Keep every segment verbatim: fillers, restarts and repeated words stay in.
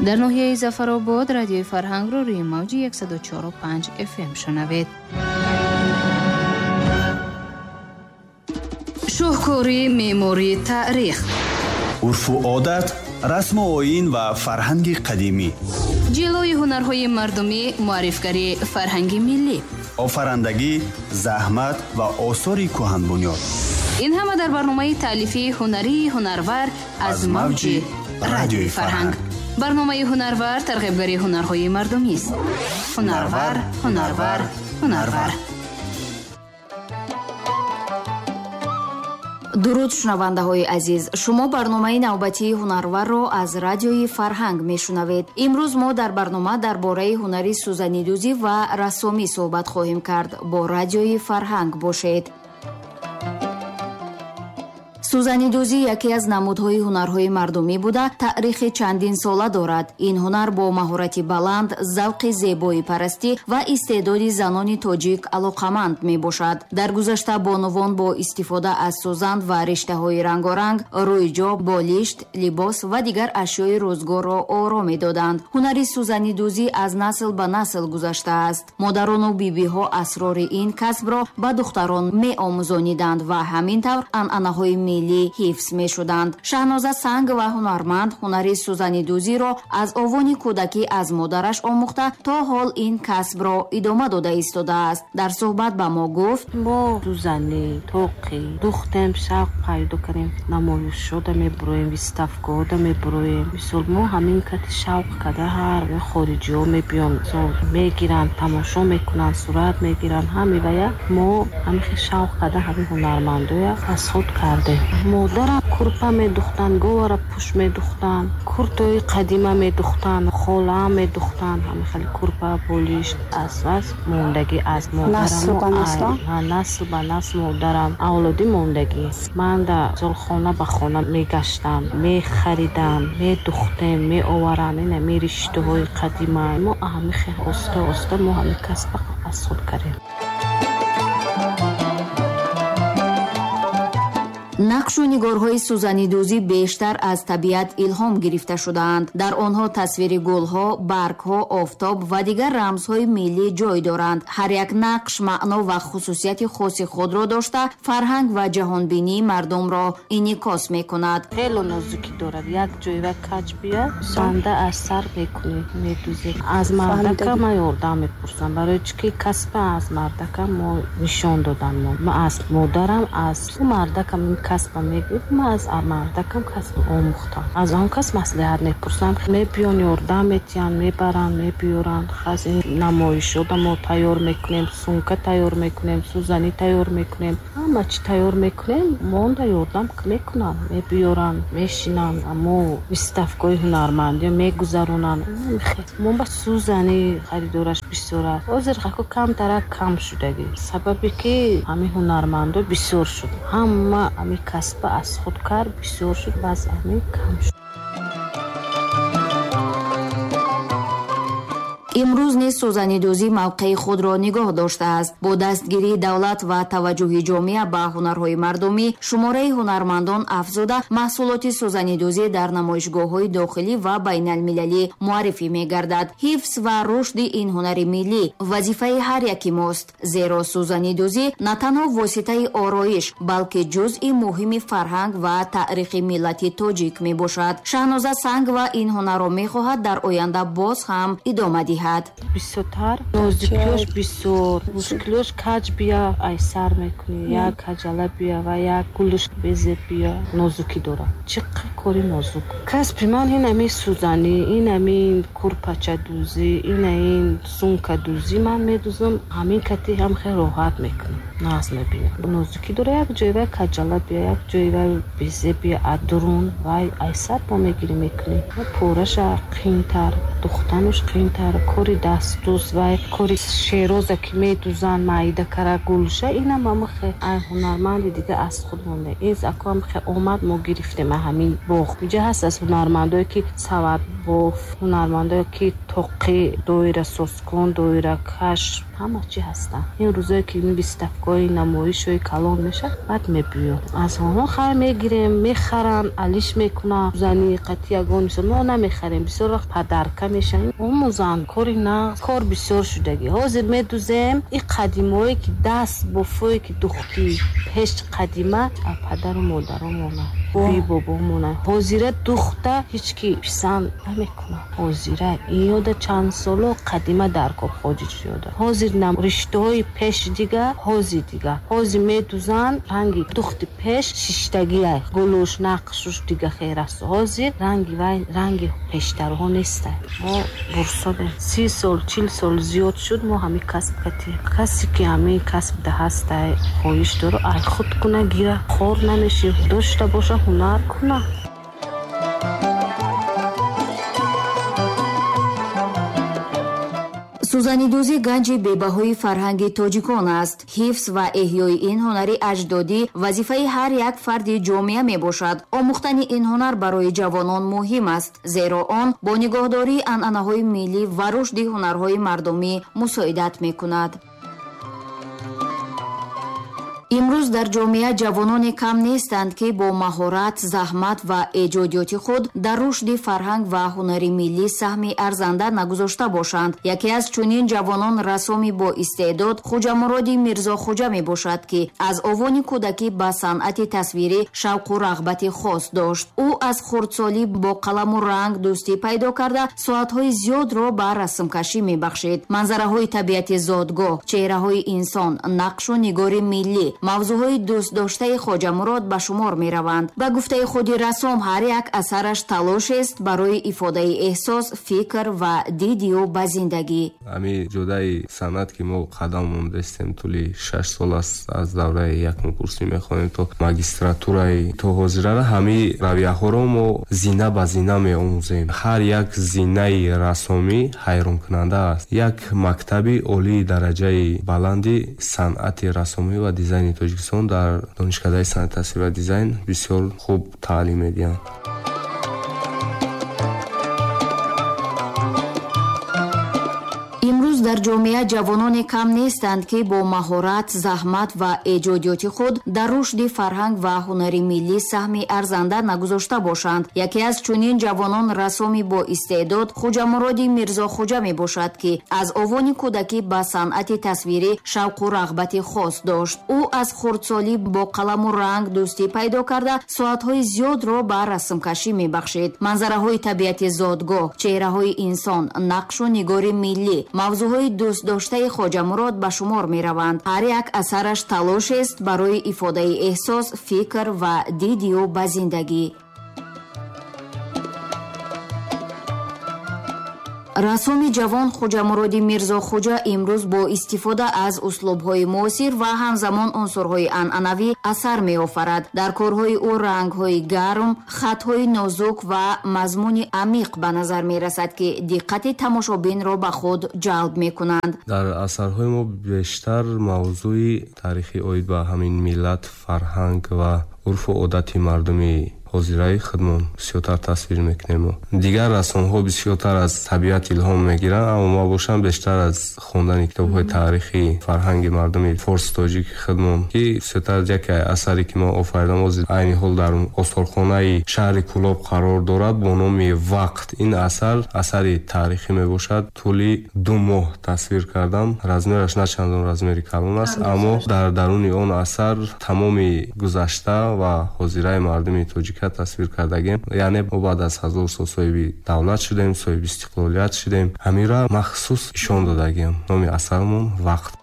Дар ноҳияи Зафаробод радиои Фарҳангро рӯи мавҷи яксаду чору панҷ эф эм шунавед. Шоҳкори меъмории таърих, урфу одат, расму оин ва фарҳанги қадимӣ, ҷилои ҳунарҳои мардумӣ, муаррифгари фарҳанги миллӣ, офарандагӣ, заҳмат ва осори кӯҳанбунёд. Ин ҳама дар барномаи таълифии ҳунарии Ҳунарвар аз мавҷи радиои Фарҳанг. Барномаи Ҳунарвар тарғибгари ҳунарҳои мардумист. Ҳунарвар, ҳунарвар, ҳунарвар. Дуруд шунавандаҳои азиз, шумо барномаи навбатии Ҳунарварро аз радиои Фарҳанг мешунавед. Имрӯз мо дар барнома дар бораи ҳунари сӯзанидӯзӣ ва рассомӣ суҳбат хоҳем кард. Бо радиои Фарҳанг бошед. Сӯзанидӯзӣ яке аз намудҳои ҳунарҳои мардумӣ буда, таърихи чандин сола дорад. Ин ҳунар бо маҳорати баланд, завқи зебоипарастӣ ва истеъдоди занони тоҷик алоқаманд мебошад. Дар гузашта бонувон бо истифода аз сӯзан ва риштаҳои рангоранг рӯйҷо, болишт, либос ва дигар ашёи рӯзгорро оро медоданд. Ҳунари сӯзанидӯзӣ аз насл ба насл гузаштааст. Модарону бибиҳо асрори ин касбро ба духтарон меомӯзониданд ва ҳамин тавр анъанаҳои миллӣ ҳифз мешуданд. Шаҳноза Сангова ҳунарманд ҳунари сӯзанидӯзиро аз овони кӯдакӣ аз модараш омӯхта, то ҳол ин касбро идома дода истодааст. Дар суҳбат ба мо гуфт: мо сӯзанӣ тоқӣ духтем, шавқ пайдо кардем, намоишшода мебуроем, виставкаода мебуроем. Мисол мо ҳамин кати шавқ карда ҳар хориҷиҳо мебиён, мегиранд, тамошо мекунанд, сурат мегиранд. Ҳамивая мо ҳамихе шавқ карда ҳамин ҳунармандоя аз худ кардем. Модарам курпа медухтанд, говара пӯш медухтанд, куртои қадима медухтанд, холаам медухтанд. Ҳамин хеле курпа, болишт аз бас мондагӣ аз модарам, насл ба насл модарам авлодӣ мондагӣ. Ман дар золхона ба хона мегаштам, мехаридам, медухтем, меоварам. Ина риштаҳои қадима мо ҳамин хеле оста оста мо ҳамин касба аз худ кардем. Нақшу нигорҳои сӯзанидӯзӣ бештар аз табиат илҳом гирифта шудаанд. Дар онҳо тасвири гулҳо, баргҳо, офтоб ва дигар рамзҳои миллӣ ҷой доранд. Ҳар як нақш маъно ва хусусияти хоси худро дошта, фарҳанг ва ҷаҳонбинии мардумро инъикос мекунад. Хеле нозукӣ дорад. Як ҷойва каҷ бия, банда аз сар мекунӣ, медӯзӣ. Аз мардака ман ёрдам мепурсам, барои чӣ ки касба аз мардака мо нишон додан. Ман аз модарам, аз мардакам касба мегӯяд, ман аз мардакам касб омӯхтам. Аз он кас маслиҳат мепурсам, мебиён, ёрдам метиҳанд, мебаранд, мебиёранд. Хас ин намоишода мо тайёр мекунем, сумка тайёр мекунем, сӯзанӣ тайёр мекунем, ҳама чӣ тайёр мекунем. Монда ёрдам мекунанд, мебиёранд, мешинанд, мо виставкаҳои ҳунармандӣ мегузаронанд. Мо ба сӯзанӣ харидораш бисёр аст. Ҳозир хако камтарак кам шудагӣ, сабабе ки ҳамин ҳунармандо бисёр шуд, ҳама ҳамин касба аз худ кард, бисёр шуд, баъз ҳамин кам шуд. Имрӯз низ сӯзанидӯзӣ мавқеи худро нигоҳ доштааст. Бо дастгирии давлат ва таваҷҷӯҳи ҷомеа ба ҳунарҳои мардумӣ, шумораи ҳунармандон афзуда, маҳсулоти сӯзанидӯзӣ дар намоишгоҳҳои дохилӣ ва байналмилалӣ муаррифӣ мегардад. Ҳифз ва рушди ин ҳунари миллӣ вазифаи ҳар яки мост, зеро сӯзанидӯзӣ на танҳо воситаи ороиш, балки ҷузъи муҳими фарҳанг ва таърихи миллати тоҷик мебошад. Шаҳноза Сангова ин ҳунарро мехоҳад дар оянда боз ҳам идома диҳад. Бисёртар нозукиёш бисёр, мушкилиёш каҷ бия айсар мекунӣ, як каҷала бия ва як гулуш безеб бия, нозукӣ дорад. Чӣ қадр кори нозук. Касби ман ин ҳамин сӯзанӣ, ин ҳамин курпачадӯзӣ, ин ҳамин сумкадӯзӣ ман медӯзам. Ҳамин кати ҳам хеле роҳат мекунам, нағз мебинам. Нозукӣ дорад, як ҷойва каҷала бия, як ҷойва безеб бия, адурун вай айсар бо мегирӣ мекунӣ. Пораша қиинтар, духтануш қиинтар, Кори дастдӯз вай кори шероза ки медӯзанд маида кара гулша, инам ҳамахе ай ҳунарманди дига аз худ монда. Ин ако ҳамахе омад, мо гирифтем ҳамин боғ. Инҷа ҳаст аз ҳунармандое ки савадбоф, ҳунармандое ки тоқӣ, доирасозкун, доиракаш, ҳама чӣ ҳастанд. Ин рӯзое ки ин выставкаҳои намоишҳои калон мешавад, баъд мебиён. Аз онҳо хайр мегирем, мехаранд, алиш мекунанд. Зани қатъи ягон мисол мо намехарем, бисёр вақт падарка мешавем. Омӯзанд, кори нағз, кор бисёр шудагӣ. Ҳозир медӯзем ин қадимое ки даст бофое ки духтӣ пеш қадима падару модаромона, бибобомона. Ҳозира духта ҳеҷ ки писанд намекунад. Ҳозира ин ёда чанд соло қадима дар кор хоҷиҷ ёда. Ҳозир нам риштаҳои пеш дига, ҳозир дига. Ҳозир медӯзанд ранги духти пеш шиштагия, гулуш, нақшуш дига хел аст. Ҳозир ранги вай ранги пештарҳо неста. Мо бурсодем. Си сол, чил сол зиёд шуд мо ҳамин касб катем. Касе ки ҳамин касб да ҳастай, хоҳиш дора, ай худ куна гира, хор намеши, дошта боша ҳунар куна. Сӯзанидӯзӣ ганҷи бебаҳои фарҳанги тоҷикон аст. Ҳифз ва эҳёи ин ҳунари аҷдодӣ вазифаи ҳар як фарди ҷомеа мебошад. Омӯхтани ин ҳунар барои ҷавонон муҳим аст, зеро он бо нигоҳдории анъанаҳои миллӣ ва рушди ҳунарҳои мардумӣ мусоидат мекунад. Имрӯз дар ҷомеа ҷавононе кам нестанд, ки бо маҳорат, заҳмат ва эҷодиёти худ дар рушди фарҳанг ва ҳунари миллӣ саҳми арзанда нагузошта бошанд. Яке аз чунин ҷавонон рассоми бо истеъдод Хуҷамуроди Мирзохуҷа мебошад, ки аз овони кӯдакӣ ба санъати тасвирӣ шавқу рағбати хос дошт. Ӯ аз хурдсолӣ бо қаламу ранг дӯстӣ пайдо карда, соатҳои зиёдро ба расмкашӣ мебахшид. Манзараҳои табиати зодгоҳ, чеҳраҳои инсон, нақшу нигори миллӣ мавзӯъҳои дӯстдоштаи Хоҷамурод ба шумор мераванд. Ба гуфтаи худи рассом, ҳар як асараш талошест барои ифодаи эҳсос, фикр ва диди ӯ ба зиндагӣ. Ҳамин ҷодаи санъат ки мо қадам мондастем, тӯли шаш сол аст аз давраи якум курсӣ мехонем то магистратураи то ҳозирара, ҳамин равияҳоро мо зина ба зина меомӯзем. Ҳар як зинаи рассомӣ ҳайронкунанда аст. Як мактаби олии дараҷаи баланди санъати рассомӣ ва дизайни Тоҷикистон дар донишкадаи санъати тасвир ва дизайн бисёр хуб таълим медиҳанд. Имрӯз дар ҷомеа ҷавононе кам нестанд, ки бо маҳорат, заҳмат ва эҷодиёти худ дар рушди фарҳанг ва ҳунари миллӣ саҳми арзанда нагузошта бошанд. Яке аз чунин ҷавонон рассоми бо истеъдод Хуҷамуроди Мирзохуҷа мебошад, ки аз овони кӯдакӣ ба санъати тасвирӣ шавқу рағбати хос дошт. Ӯ аз хурдсолӣ бо қаламу ранг дӯстӣ пайдо карда, соатҳои зиёдро ба расмкашӣ мебахшид. Манзараҳои табиати зодгоҳ, чеҳраҳои инсон, нақшу нигори миллӣ мавзӯъҳои дӯстдоштаи Хоҷамурод ба шумор мераванд. Ҳар як асараш талошест барои ифодаи эҳсос, фикр ва диди ӯ ба зиндагӣ. Рассоми ҷавон Хуҷамуроди Мирзохуҷа имрӯз бо истифода аз услубҳои муосир ва ҳамзамон унсурҳои анъанавӣ асар меофарад. Дар корҳои ӯ рангҳои гарм, хатҳои нозук ва мазмуни амиқ ба назар мерасад, ки диққати тамошобинро ба худ ҷалб мекунанд. Дар асарҳои мо бештар мавзӯи таърихӣ оид ба ҳамин миллат, фарҳанг ва урфу одати мардуми ҳозираи худмон бисёртар тасвир мекунем. Дигар рассомҳо бисёртар аз табиат илҳом мегиранд, аммо ма бошам бештар аз хондани китобҳои таърихӣ фарҳанги мардуми форс тоҷики худмон, ки бисёртар яке асаре ки мо офаридам ҳозир айни ҳол дар осорхонаи шаҳри Кӯлоб қарор дорад бо номи Вақт. Ин асар асари таърихӣ мебошад. Тӯли ду моҳ тасвир кардам. Размераш на чандон размери калон аст, аммо дар даруни он асар тамоми гузашта ва ҳозираи мардуми тоҷика тасвир кардагем. Яъне мо баъд аз ҳазор сол соҳиби давлат шудем, соҳиби истиқлолият шудем. Ҳаминро махсус ишон додагем. Номи асармон Вақт.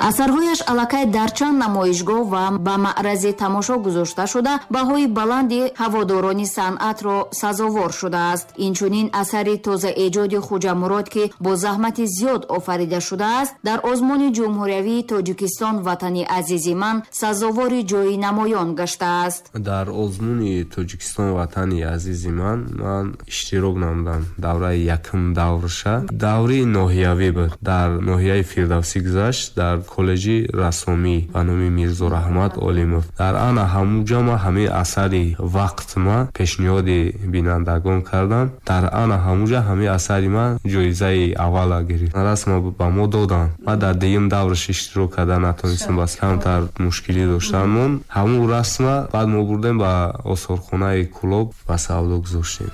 Асарҳояш аллакай дар чанд намоишгоҳ ва ба маърази тамошо гузошта шуда, баҳои баланди ҳаводорони санъатро сазовор шудааст. Инчунин асари тозаэҷоди Хуҷамурод, ки бо заҳмати зиёд офарида шудааст, дар озмуни ҷумҳуриявии Тоҷикистон «Ватани азизи ман» сазовори ҷои намоён гаштааст. Дар озмуни Тоҷикистон «Ватани азизи ман» ман иштирок намудам. Давраи якум даврша даври ноҳиявӣ буд, дар ноҳияи Фирдавсӣ гузашт, дар коллеҷи рассомӣ ба номи Мирзо Раҳмат Олимов. Дар ана ҳамуҷа ма ҳамин асари «Вақт» ма пешниҳоди бинандагон кардам. Дар ана ҳамуҷа ҳамин асари ман ҷоизаи аввала гирифт, расма ба мо доданд. Ма дар дуюм давраш иштирок карда натонистам, бас камтар мушкилӣ доштанмон. Ҳамун расма баъд мо бурдем ба осорхонаи Кӯлоб, ба савдо гузоштем.